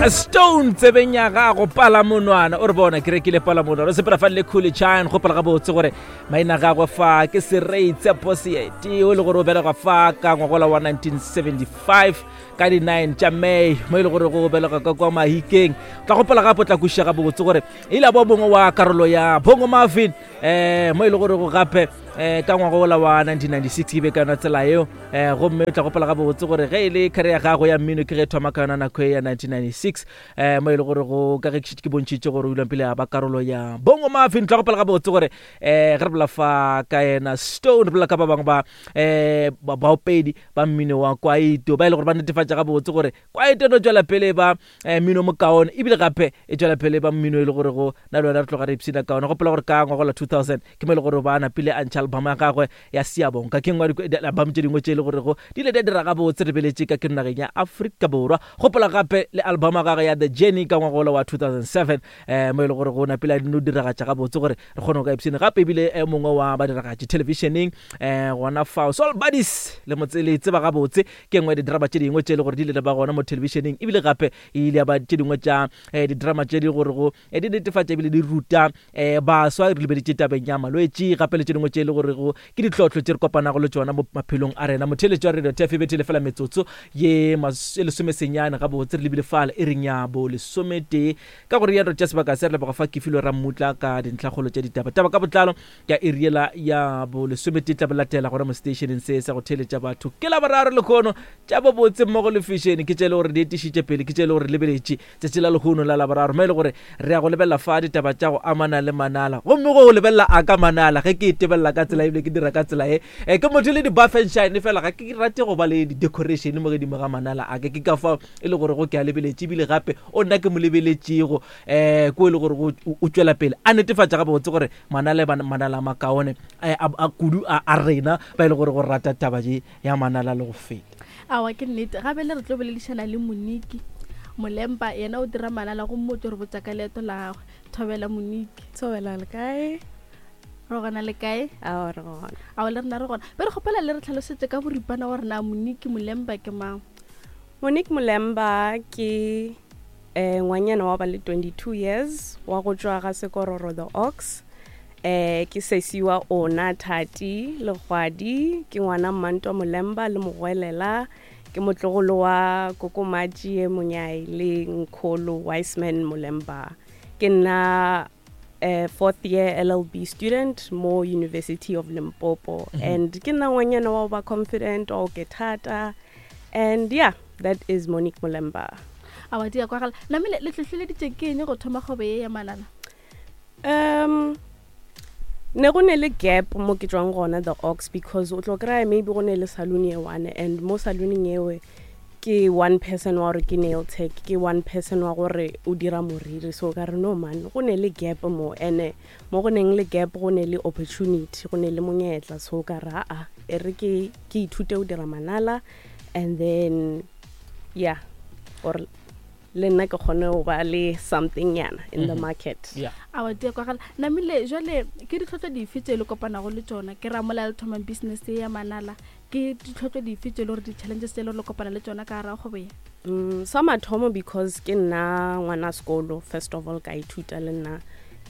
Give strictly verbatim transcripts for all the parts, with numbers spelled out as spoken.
Stone tsebeng ya gago palamonwana o re bona ke rekile palamonwana o sepela fa le Khuli Chana. Gopola gabotse gore maina gagwe fa ke Serei Tshepo Seeti, o le gore o belegwa fa ka ngwagola wa nineteen seventy-five ka di-nine tša May, mo e le gore go belegwa ka kwa Mahikeng. Tla gopola gape o tla kwešiša gabotse gore ile bo mongwe wa karolo ya Bongo Maffin, um mo e le gore go gape um ka ngwagola wa nineteen ninety-six ke be ka yona tsela eo. um gomme o tla gopola gabotse gore ge e le career ya gago ya mmino ke ge e thoma ka yona nako e ya nineteen ninety-six, um mo e le gore go ka ge ke šetše ke bontšhitše gore o ile pele a ba karolo ya Bongo Maffin. Tla gopola gabotse gore um ge re bolela fa ka yena Stone, re bolela ka ba bangwe ba um baopedi ba mmino wa kwaito ba e le gore ba netefatša gabotse gore kwaito no tswela pele ba um mmino mokaone, ebile gape e tswela pele ba mmino e le gore go na le wena re tloga re ipshina ka ona. Gopola gore ka ngwagola two thousand ke mo e le gore ba napile a ntšha album ya gagwe ya Siabonka, ke nngwe ya di-album tše dingwe tše e le gorego di ile di a dira gabotse re beletše ka ke nageng ya Afrika Borwa. Gopola gape le album ya gagwe ya The Journey ka ngwagola wa two thousand seven, um mo e le gore go napile a dino diragatša gabotse gore re kgone go ka ipshina gape. Ebile e mongwe wa badiragatši televisioneng um gona fao Soul Buddyz le motse le tseba gabotse, ke nngwe ya didrama tše dingwe tše e le gore di ile ba gona mo televisioneng, ebile gape e ile ya ba tše dingwe tša um didrama tše di gore go eh, di netefatša ebile di ruta um baswa re lebeditše tabeng ya malwetši, gape le tše dingwe tše e le gore go ke ditlhohlo tše re kopanago le tšona mo maphelong a rena. Motheletši wa radio T F e bethile fela metsotso ye mas- e lesomesenyane gabotse re lebile fale e reng ya bo lesometee. Ka gore ya re tša sebaka se re leboga fa Kefilo Rammutla ka dintlhakgolo tša ditaba. Taba ka botlalo ka eriela ya bo lesometee tla bo latela gona mo stationeng se sa go theletša batho. Ke la boraro lekgono tša bobotse mmogo le fashion ke tše e le gore di etišitše pele, ke tše e le gore lebeletše tšatši la lehono la Laboraro, mo e le gore re ya go lebelela fa ditaba tša go amana le manala. Gomme go lebelela a ka manala ge ke e tebelela ka tsela ebile ke dira ka tsela e e ke motho le di-buffenshine fela ga ke rate go ba le di-decoration mo godimo ga manala a ke. Ke ka fao e le gore go ke a lebeletše, ebile gape o nna ke mo lebeletšego um ko e le gore go- o tswela pele a netefatša gabotse gore manala e ba manala a makaone eh, a a kudu a a rena ba e le gore go rata taba je ya manala le go feta. Awa, ke nnete. Gape le re tlo boledišana le Moniki Molempa, yena o dira manala, gomme o tlo re botsa ka leeto la gagwe. Thobela, Moniki. Thobela, le kae? Re gona, le kae? Ao, re gona. Ao, le rena re gona. Be re kgopela le re tlhalosetse ka boripana gore na Moniki Molempa ke mang. Monique Molemba ke eh ngwanyana wa ba le twenty-two years wa go tšwa ga Sekororo The Ox. eh ke sesi wa ona Thati Legwadi, ke ngwana Mmantwa Molemba le Mogwelela, ke motlogolo wa Kokomatši Monyai le Nkholo Wiseman Molemba. Ke nna uh, fourth year L L B student mo University of Limpopo mm -hmm. and ke nna ngwanyana wa go ba confident, wa go ke thata, and yeah, that is Monique Molemba. Awa, di ya kwagala. Namile le tlhotlheleditše ke eng go thoma kgwebo ye ya manala? um ne go ne le gap mo ke tswang gona The Ox, because o tlo kry-a maybe go ne le saloon ye one, and mo salooning ewe ke one person wa gore ke nail tech, ke one person wa gore o dira moriri. So ka re, no man, go ne le gap mo, and mo go neng le gap go ne le opportunity, go ne le monyetla. So ka re, aa, e re ke ke ithute go dira manala, and then yeah, or le nna ke kgone go ba le something nyana in the market. Yeah Awa, di ya kwagala. Namile jale ke ditlhotlo dife tse le kopanago le tsona, ke ra mola le thomang business ye ya manala, ke ditlhotlo dife tse e le gore di-challenges tse e le gore le kopana le tsona ka gara kgwebo ye? Mm, sa mathomo, because ke nna ngwana sekolo, first of all ka ithuta le nna,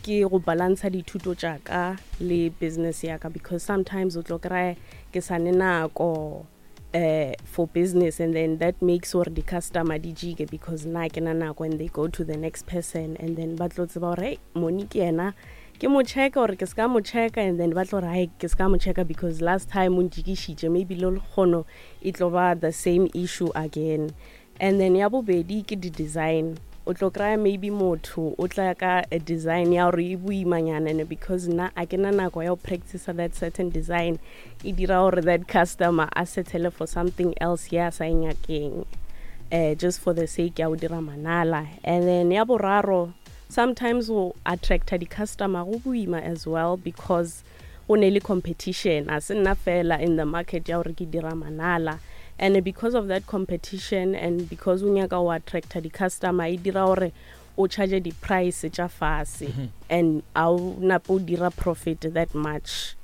ke go balansa dithuto tša ka le business ya ka, because sometimes o tlo kry ke sa ne nako uh, for business, and then that makes gore di-customer di jike because nna ke na nako and they go to the next person, and then ba tlo tseba gore, hey, Monique yena ke mo checka or ke ska mo checka, and then ba tlo re, hai, ke ska mo checka because last time o njikišitše, maybe le kgono e tlo ba the same issue again. And then ya bobedi ke di-design. O tlo kry-a maybe motho o tla ka a design ya gore e boimanyana, and because nna a ke na nako ya go practice that certain design, e dira gore that customer a settle for something else ya sa e nyakeng, uh, just for the sake ya go dira manala. And then ya boraro, sometimes go attracta di-customer go boima as well, because go ne le competition, a se nna fela in the market ya gore ke dira manala, and because of that competition and because o nyaka go attracta di-customer, e dira gore o charge di-price tša fase and a o nape o dira profit that much.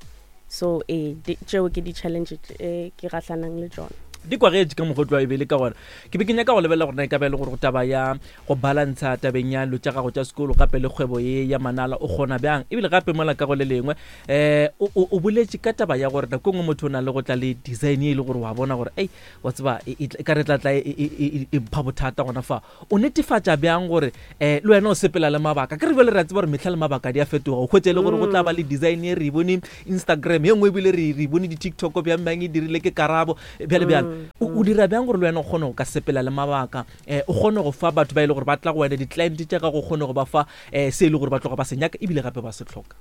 So ee, tšeo ke di-challenge tše ke gahlanang le tšona. Di kwagetše ka mokgwa o tloa e be le ka gona. Ke be ke nyaka go lebelela gore na e ka ba e le gore go taba ya go balantsha tabeng ya dilo tša gago tša sekolo gape le kgwebo ye ya manala o kgona bjang, ebile gape mola ka go le lengwe um o boletše ka taba ya gore nako e nngwe motho o na le go tla le design e le gore wa bona gore ei wa tseba e ka re tla tla e mpha bothata gona fa. O netefatša bjang gore um le wena o sepela le mabaka? Ke re bjale re a tseba gore mehla le mabaka di a fetoga. O hwetše e le gore go tla ba le design e re e bone Instagram, ye nngwe ebile re e bone di-TikTok bjang bjang e dirile ke Karabo bjale bjale. O dira bjang gore le wena o kgone go ka sepela le mabaka, um o kgone go fa batho ba e le gore ba tla go wena di-client tša gago, o kgone go ba fa um se e le gore ba tloga ba se nyaka ebile gape ba se hloka?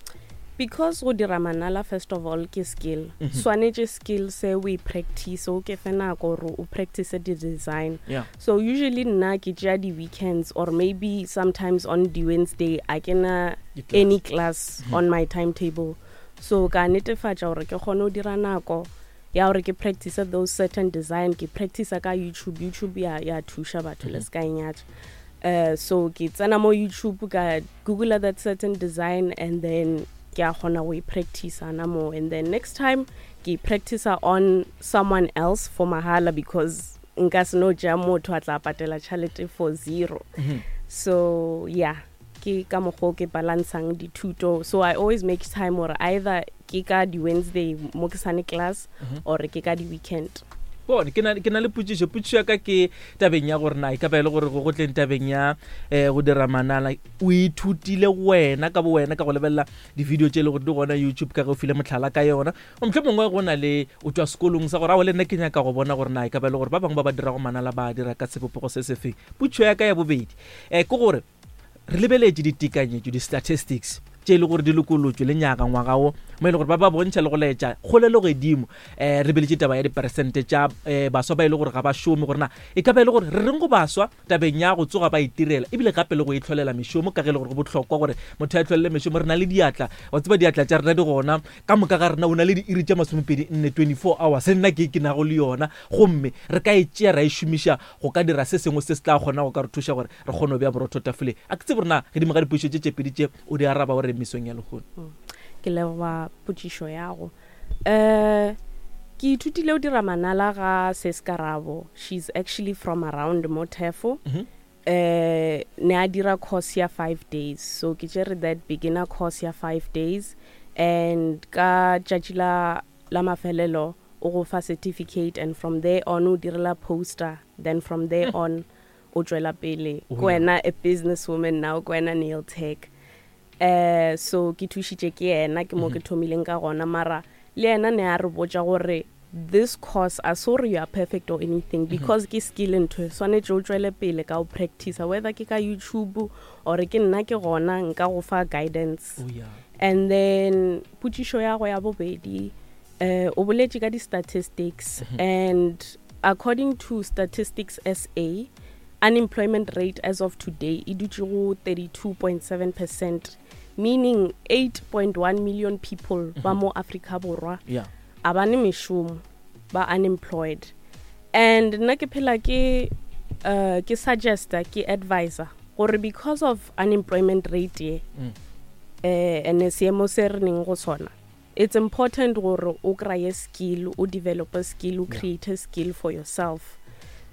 Because go dira manala first of all ke skill. Swanetše skill se we practice, o ke fe nako gore o practice the design. Yeah. So usually nna ke tšea di-weekends or maybe sometimes on the Wednesday a ke na any class mm -hmm. on my timetable, so ka netefatša gore ke kgone go dira nako ya gore ke practice those certain design. Ke practice ka YouTube. YouTube ya ya thuša batho, le se ka e nyatša. uh, so ke tsena mo YouTube, ka google that certain design, and then ke a kgona go e practice ana mo, and then next time ke practice on someone else for mahala, because nka se no tšea motho a tla patela tšhelete for zero. mm -hmm. So yeah, ke ka mokgwa ke balancang dithuto. So I always make time or either ke ka di-Wednesday mo ke sane class mm -hmm. or ke ka di-weekend. Bone, ke na le potšišo. Potšišo ya ka ke tabeng ya gore na e ka ba e le gore go tleng tabeng ya um go dira manala o ithutile wena ka bo wena ka go lebelela di-video tše e le gore di gona YouTube, ka ge o file motlhala ka yona, motlho mongwe go na le o tswa sekolong sa gore ao le nna ke nyaka go bona gore na e ka ba e le gore ba bangwe ba ba dirago manala ba dira ka sebopego se sefeng? Potšišo ya ka ya bobedi um ke gore re lebeletše ditekanyetšo, di-statistics tše e le gore di lokolotšwe le nyaka ngwaga wo, mo e le gore ba ba bontšha le go laetša kgolelo godimo. um re lebeletše taba ya diperesente tša um baswa ba e le gore ga ba šome, gore na e ka ba e le gore re reng go baswa tabeng ya go tsoga ba itirela ebile gape le go itlholela mešomo, ka ge e le gore go bohlokwa gore motho a itlholele mešomo. Re na le diatla, wa tseba diatla tša rena di gona ka moka ga rena. O na le diiri tša masomepedi nne, twenty-four hours, nna ke ke nago le yona, gomme re ka e tšea ra e šomiša go ka dira se sengwe se se tla kgona go ka re thuša gore re kgone go bea borotho tafoleng. A ke tsebe rena gedimo ga dipušo tše tše pedi tše o di araba gore mesong ya lehono. Ke leboga potšišo yago. um ke ithutile o dira manala ga Seskarabo. She's actually from around Motefo. mm -hmm. uh ne a dira course ya five days, so ke tšere that beginner course ya five days, and ka tšatši la la mafelelo o go fa certificate, and from there on o direla poster, then from there on o tšwela pele Oh, ke wena a business woman now, ke wena nail tech. uh so ke thušitše ke yena, ke mo ke thomileng ka gona. Mara le yena ne a re botša gore this course a se gore you are perfect or anything, because ke skill ntho swanetše o tšwele pele ka o practice, whether ke ka YouTube or ke nna ke gona nka go fa guidance. Oh, yeah. And then potšišo ya go ya bobedi, uh, o boletše ka di-statistics, and according to Statistics S A, unemployment rate as of today e dutše go thirty-two point seven percent, meaning eight point one million people ba mo Africa Borwa yeah a ba ne mešomo, ba unemployed. And nna ke phela ke uh, ke suggesta, ke advisor gore because of unemployment rate ye Mm. eh ene seemo se re neng go sona, it's important gore o kry-e skill, o develop a skill, o Yeah. create a skill for yourself,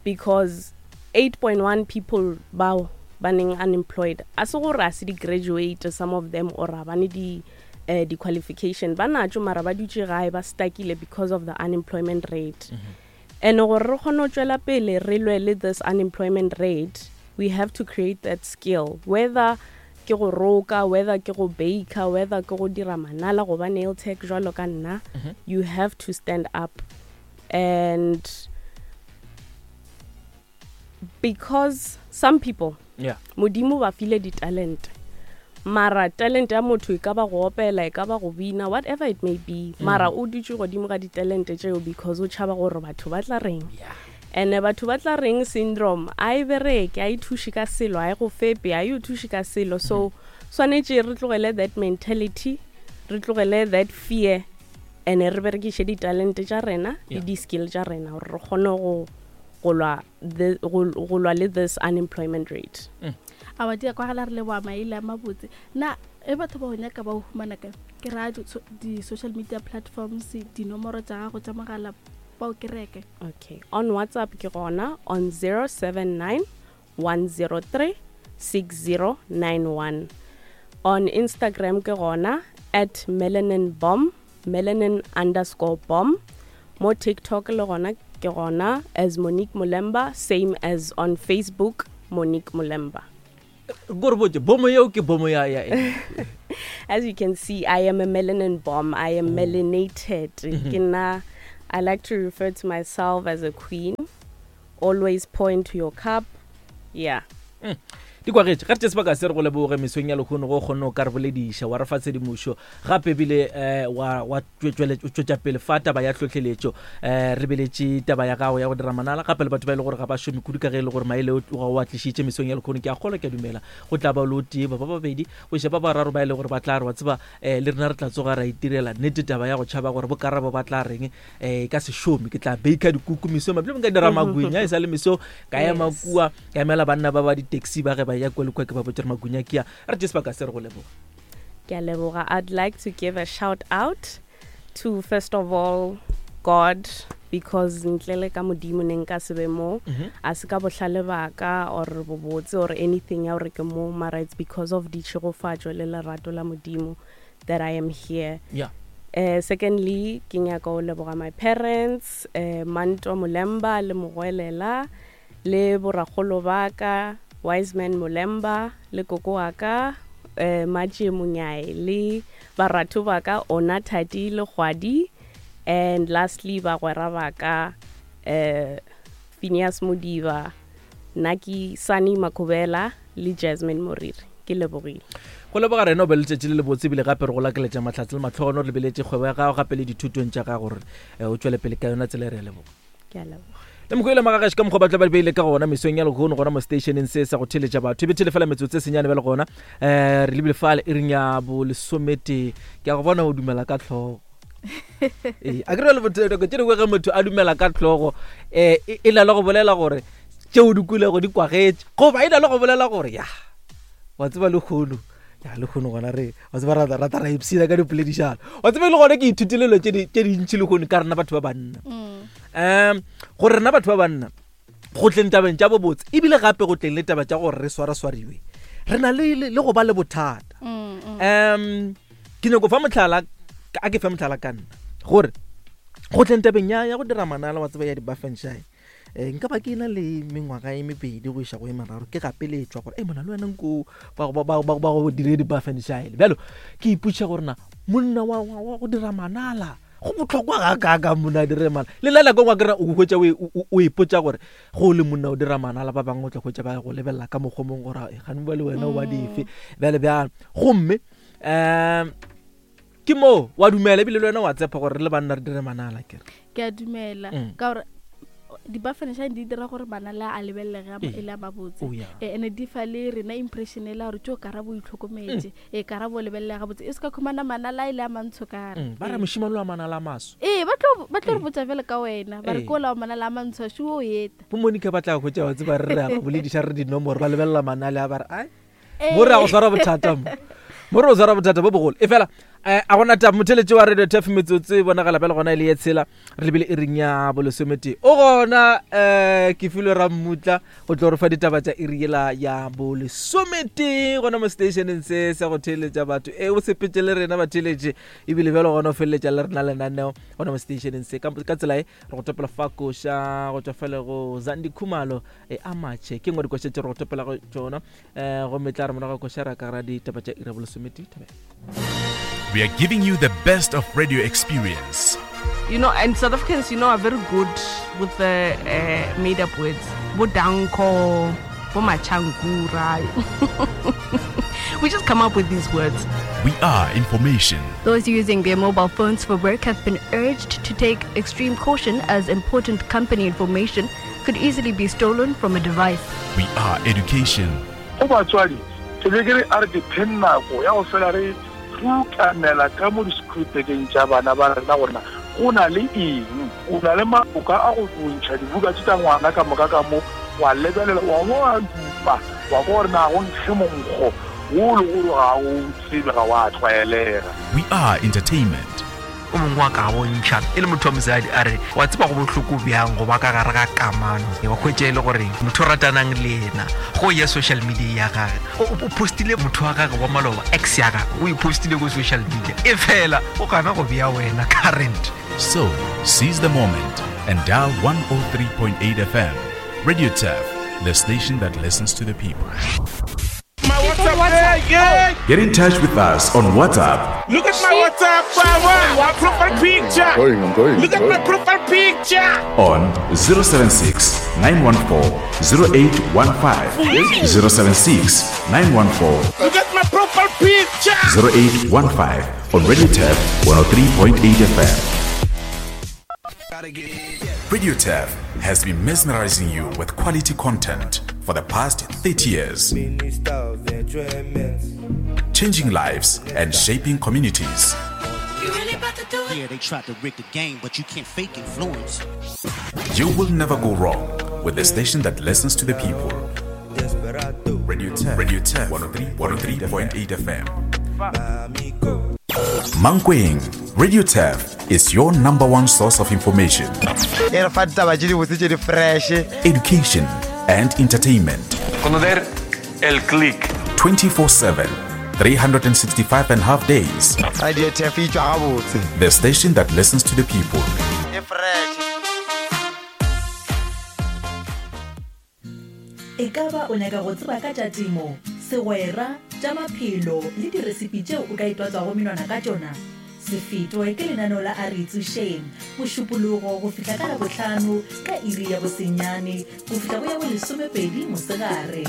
because eight point one people bao ba neng unemployed a se gore a se di-graduate, some of them, or a ba ne di uh, di-qualification ba natso, mara ba dutše gae ba stuckile because of the unemployment rate. Mm -hmm. And gore re kgone go tšwela pele re lwe le this unemployment rate, we have to create that skill, whether ke go roka, whether ke go baker, whether ke go dira manala goba nail tech jwalo ka nna. Mm -hmm. You have to stand up, and because some people yeah Modimo ba file di-talent, mara talent ya motho e ka ba go opela, e ka ba go bina, whatever it may be, Mm. mara o dutše godimo ga ditalente tšeo because o tšhaba gore batho ba tla reng. Yeah and batho ba tla reng syndrome a e bereke, a e thuše ka selo, a e go fepe, a e o thuše ka selo. So swanetše re tlogele that mentality, re tlogele that fear, and re berekiše ditalente tša rena le Yeah. di-skill tša rena gore re kgone go go lwa the- go go lwa le this unemployment rate. A wa dia kwagala, re leboa maele a mabotse. Na e batho ba go nyaka ba go humana kae? Ke raya di- so- di-social media platforms, dinomoro tša gago tša mogala. ba o kereke. Okay, on WhatsApp ke gona on zero seven nine one zero three six zero nine one. On Instagram ke gona at melanin bomb, melanin underscore bomb. Mo TikTok le gona ke gona as Monique Mulemba, same as on Facebook Monique Mulemba. Gore botse bomo yeo ke bomo ya ya. As you can see, I am a melanin bomb. I am melanated. Ke nna, I like to refer to myself as a queen. Always pour into your cup. Yeah. Mm. Di kwagetše ga re tše sebaka se re go leboge mesong ya lehono go kgonne o ka re bolediša wa re fa tshedimošo gape ebile um wa tšwetša pele fa taba ya tlhotlheletšo um re beletše taba ya gago ya go dira manala gape le batho ba e le gore ga ba šome kudu ka ge e le gore maele ga o a tlišitše mesong ya lehono. Ke a kgolwa, ke a dumela go tla ba le o tee ba ba babedi go iša ba bararo ba e le gore ba tla re wa tseba um le rena re tla tsoga ra itirela nnete taba ya go tšhaba gore bokarabo ba tla reng um ka se šome. Ke tla baker dikuku mesong mabile nka dira magwinya e sa le meso ka ema kua ka emela banna ba ba di-taxi ba ge ba ya kwa le kwa ke ba botse re magunya ke a re tše sebaka se re go leboga. Ke a leboga. I'd like to give a shout out to first of all God, because ntle le ka modimo ne nka se be mo, a se ka bohlale ba ka or bobotse or anything ya gore ke mo, mara it's because of ditšhegofatšo le lerato la modimo that I am here. Yeah. Uh, secondly, ke nyaka go leboga my parents, uh, Manto Mulemba le Mogwelela le borakgolo ba ka Wiseman Mulemba le koko wa ka eh, Matše Monyai le baratho ba ka Ona Thati le Kgwadi, and lastly bagwera ba ka eh, Phineas Modiba, Naki Sani Makobela le Jasmine Moriri. Ke lebogile. Go leboga rena o be letšatši le lebotse ebile gape re go lakeletša mahlatse le matlhogono re lebeletše kgwebo ya gago gape le dithutong tša gago gore o tšwele pele ka yona tsela e re a leboga. Ke a leboga. Le mokwele magagaši ka mokgwa ba tla ba beile ka gona mesong ya lehono gona mo stationeng se sa go theletša batho e bethele fela metsotso e senyane bjale gona um re lebile fale e reng ya bolesometee. Ke a go bona o dumela ka tlhogo. Ee, a ke re le nako tše dingwe ge motho a dumela ka tlhogo um e na le go bolela gore tšeo di kulego di kwagetše goba e na le go bolela gore ya wa tseba lehono ya lehono gona re wa tseba rata rata ra ipshina ka dipoledišano wa tseba le gona ke ithutile dilo tše dintši lehono ka rena batho ba banna. Um gore rena batho ba banna go tleng tabeng tša bobotse ebile gape go tleng le taba tša gore re swaraswariwe re na le le go ba le bothata. Um ke nyako fa mohlala a ke fe mohlala ka nna gore go tleng tabeng ya ya go dira manala wa tseba ya di-buffenshine um nka ba ke na le mengwaga e mebedi go iša go e meraro ke gapeletšwa gore e mona le wena nko ba go dire di-buffenshine. Bjalo ke ipotšiša gore na monna wa go dira manala go bohlokwa ga kaka monna a dire manala le nna nako ngwe ke re o hwetša o ipotša gore go le monna o dira manala ba bangwe o tla hwetša ba go lebelela ka mokgwa mongwe gore gane ba le wena o ba dife bjale bjalo. Gomme um ke moo wa dumela ebile le wena wa tshepa gore re le banna re dire manala kere. Ke a dumela ka gore di-buffenshine di dira gore manala a lebelelege e le a mabotse ene di fa le rena impression e la gore tšeo karabo o itlhokometse e karabo o lebelelega gabotse e se ka khumana manala e le a mantsho kare ba re mošemane wa manala a maso ee ba tlo ba tlo re botsa fela ka wena ba re ke ola wa manala a mantsho a šo o eta bo Monica ba tla hwetša wa tseba re re a ba bolediša re dinomoro ba lebelela manale a ba re ai mo re a go swara bothata mo mo re o swara bothata bo bogolo e fela a gona taba motheletše wa radio tf metsotso e bonagala bjale gona e le ye tshela re lebile e reng ya bolesometee o gona um ke filwe rammutla go tlo re fa ditaba tša iri yela ya bolesometee gona mo stationeng se sa go theeletša batho e o sepetse le rena batheeletše ebile bjalo gona o feleletša le rena lenaneo gona mo stationeng se ka tsela e re go topela fa koša go tšwa fele go Zandi Khumalo e amatšhe ke nngwe dikoša tše re go topela go tšona um gomme tla re morago koša ra ka gara ditaba tša iri ya bolesometee. Thabela. We are giving you the best of radio experience. You know, and South Africans, you know, are very good with the uh, made-up words. Bodanko, bomachankura. We just come up with these words. We are information. Those using their mobile phones for work have been urged to take extreme caution as important company information could easily be stolen from a device. We are education. Go batswadi, ke be ke re a re diphe nako ya go fela re rutamela ka mo di-screwtekeng tša bana ba rena gorena go na le eng, o na le maboka a go bontšha dibuka tše tša ngwana ka moka ka mo wa lebelela wa bo wa dupa wa kwa gore na go nkge monkgo wo le gore ga o tsebe ga wa tlwaelega. We are entertainment. O mongwe wa ka bontšha e le motho wa mosadi, a re wa tseba go bohloko bjang go ba ka gare ga kamano, wa hwetša e le gore motho o ratanang le yena go ya social media ya gage o o postile motho wa gage wa maloba, ex ya gage, o e postile ko social media, e fela o gana go bea wena current. So, seize the moment and dial one oh three point eight F M. Radio Turf, the station that listens to the people. My WhatsApp, yeah. Get in touch with us on WhatsApp. Look at my WhatsApp, wow, my profile picture. I'm going, I'm going. Look at my profile picture. On zero seven six nine one four zero eight one five, zero seven six nine one four Look at my profile picture. zero eight one five on Radio Turf one oh three point eight F M. Radio Turf has been mesmerizing you with quality content for the past thirty years, changing lives and shaping communities. Yeah, they tried to rig the game, but you can't fake influence. You will never go wrong with the station that listens to the people. Radio Turf, Radio Turf one oh three one oh three point eight F M. Mankweng, Radio Turf is your number one source of information, E re fa ditaba tše dibotse tše di fresh, education, and entertainment. Conocer el click. twenty-four seven, three hundred sixty-five and a half days. Radio Turf e tšwa gabotse. The station that listens to the people. E fresh. E ka ba o nyaka go tseba ka tša temo, segwera, tša maphelo le diresipi tšeo o ka itwatswago menwana ka tšona? Se fetwe ke lenaneo la A Re Itsošeng, Mošupologo go fihla ka Labohlano ka iri ya bosenyane go fihla go ya bolesomepedi mosegare.